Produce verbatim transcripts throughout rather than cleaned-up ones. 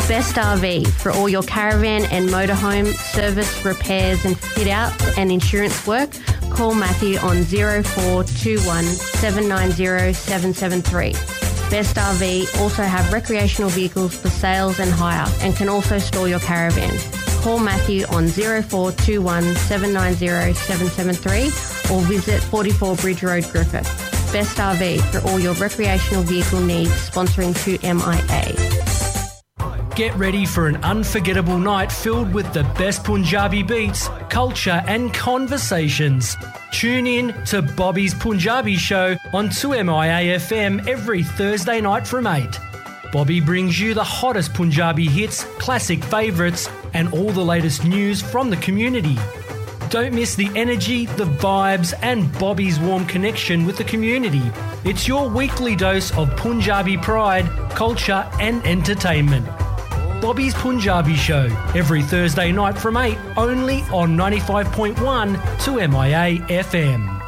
Best R V for all your caravan and motorhome service, repairs and fit outs and insurance work. Call Matthew on zero four two one seven nine zero seven seven three. Best R V also have recreational vehicles for sales and hire and can also store your caravan. Call Matthew on zero four two one seven nine zero seven seven three or visit forty-four Bridge Road, Griffith. Best R V for all your recreational vehicle needs, sponsoring two M I A. Get ready for an unforgettable night filled with the best Punjabi beats, culture, and conversations. Tune in to Bobby's Punjabi Show on two M I A F M every Thursday night from eight. Bobby brings you the hottest Punjabi hits, classic favourites, and all the latest news from the community. Don't miss the energy, the vibes, and Bobby's warm connection with the community. It's your weekly dose of Punjabi pride, culture, and entertainment. Bobby's Punjabi Show, every Thursday night from eight, only on ninety-five point one two M I A F M.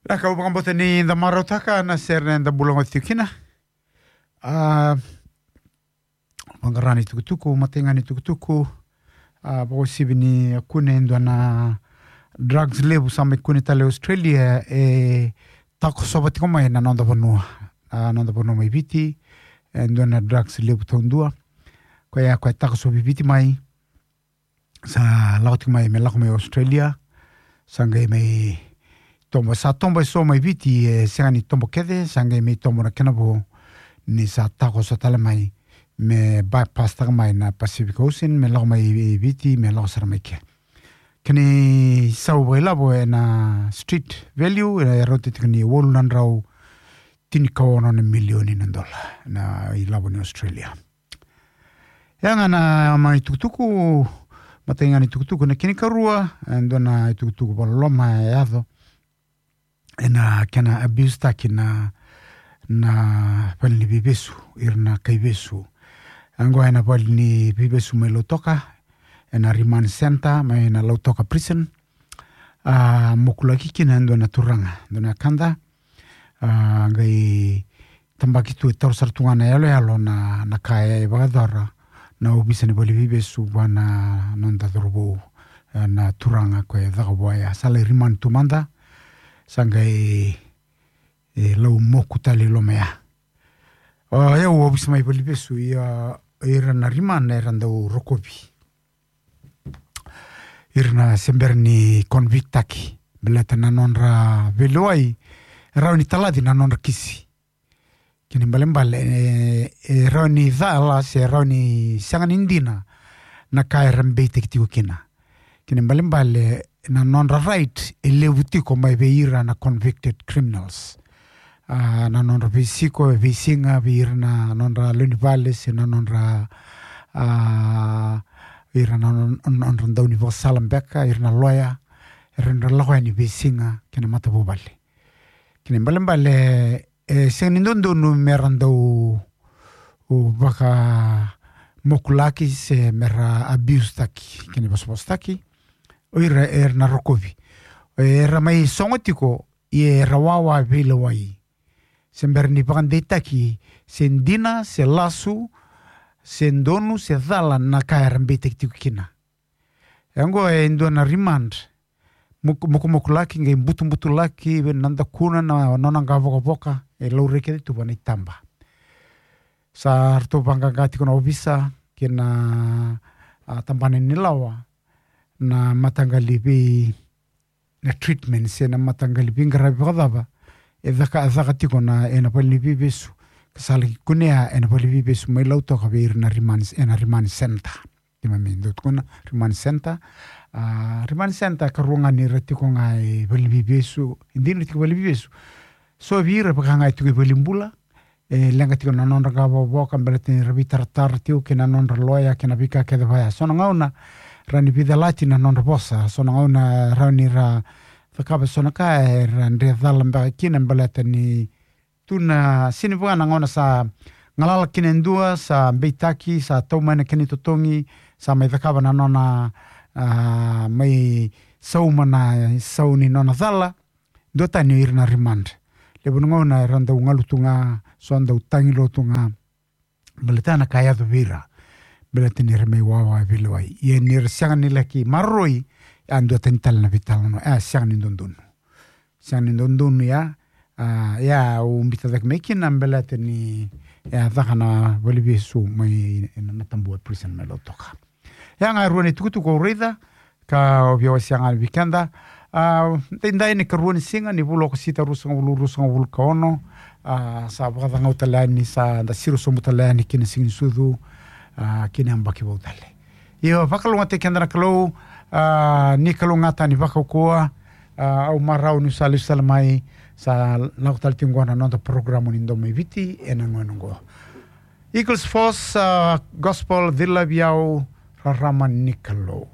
Na ka au vakabauta ni da marautaka na sere eda bula goti tiko kina. A, vaqara ni tukutuku, matai ga ni tukutuku. A, vakauasivi ni kune e dua na drugs levu sa mai kune tale Australia, e takosova tiko mai na noda vanua. A, noda vanua mai Viti, e dua na drugs levu taudua. Koya, koya e takosovi Viti mai. Sa lako tiko mai, me lako mai Australia. Sa qai mai tobo, sa tobo eso mai Viti, e sega ni tobo kece, sa qai mai tobo na kena vo ni sa takoso tale mai, me bypass taka mai na Pacific Ocean, me lako mai Viti, me lako sara mai ke. Kena isau vakailavo ena street value, e rauta tiko ni walu na drau tinikaono na milioni na dola na ilavo ni Australia. Ya ga na mai tukutuku, matai ga ni tukutuku. Na kena ikarua, e dua na itukutuku vakaloloma e yaco ena kena abuse taki na, na valeniveivesu, ira na kaivesu. Oqo ena valeniveivesu mai Lautoka, ena remand center mai na Lautoka prison. A, mokulaki kina e dua na turaga, dua na kada. A, qai tabaki tu, e taura sara tu ga na yaloyalo na, na ka e vakayacora na ovisa ni valeniveivesu vua na noda cauravou, e, na turaga koya e caka vua ya. Sa lai remand tu mada, sa qai, e, lau moku tale i loma ya. O yau, ovisa mai valeniveivesu, ia, ira na remand era dau rokovi ira na se bera ni convict taki, baleta na nodra veilewai e rawa ni talaci na nodra kisi. Kena ibalebale, e, e rawa ni cala se rawa ni sega ni dina na ka era beitaki tiko kina. Kena ibalebale, na nodra right e levu tiko mai vei ira na convicted criminals. A, na nodra veisiko e veisiga vei ira na nodra lewenivale se na nodra, a, ira na nodra, nodra daunivakasala beka, ira na loya, era dau lako yani veisiga kei na matavuvale. Kena ibalebale, e sega ni dodonu mera dau vakamokulaki se mera abuse taki, kena ivosavosataki o ira era na rokovi. Era mai sogo tiko, ia era wawa veilewai. Se bera ni vakadeitaki se dina, se lasu, se donu, se cala na ka era beitaki tiko kina. Oqo e dua na remand. Muk-, mukumukutaki, qai butubutulaki, na dakuna, na nona qavokavoka, e laurai kece tu vua na itaba. Sa ratou vaqaqa tiko na ovisa kei na, a, tabana ni lawa, na mataqali vei, na treatment se na mataqali veiqaravi vakacava e caka, caka tiko na, ena valeniveivesu, ka sa laki kunea ena valeniveivesu mai Lautoka vei ira na remand, ena remand center. Keimami dau tukuna remand center. A, remand center, karua ga ni ra tiko ga e valeniveivesu, e dina ra tiko valeniveivesu. So vei ira vaka ga e tiko i valenibula, e leqa tiko na nodra qavokavoka, baleta ni ra veitaratara tiko kei na nodra loya kei na veika kece vaya. So na gauna rawa ni veicalati na nodra vosa, so na gauna rawa ni ra cakava so na ka era dre cala beka kina, baleta ni tu na sini vaka na gauna sa galala kina e dua, sa beitaki, sa tau mai na kena itotogi, sa mai cakava na nona, a, mai sauma na isau ni nona cala, duatani o ira na remand. Levu na gauna era dau galu tu ga, so dau tagi lotu ga. Baleta na ka e yaco vei ira, baleta ni ra mai wawa veilewai. Ia ni ra sega ni laki maroroi, a duatani tale na veitalanoa, a sega ni dodonu. Sega ni dodonu ya, a, ya au biuta cake mai kina baleta ni, ya caka na valevesu mai na, na Tabua prison mai Lautoka. Ya ga e rua na itukutuku au raica, ka au via wasea ga vei keda. A, daidai na ikarua ni siga ni vula o Okosita, ruasagavulu, ruasagavulu ka ono. A, sa vakacagau tale yani, sa da siro sobu tale yani ki na Siga ni Sucu, a, ki na yabaki vou tale. Io, vakalougatataki keda na Kalou, a, ni kalougata ni vakaukauwa, a, au marau niu sa lesu tale mai, sa lako tale tiko qo na noda porokaramu ni Domo i Viti, ena gauna qo. Eagles Force, a, Gospel, They Love You, Rarama ni Kalou.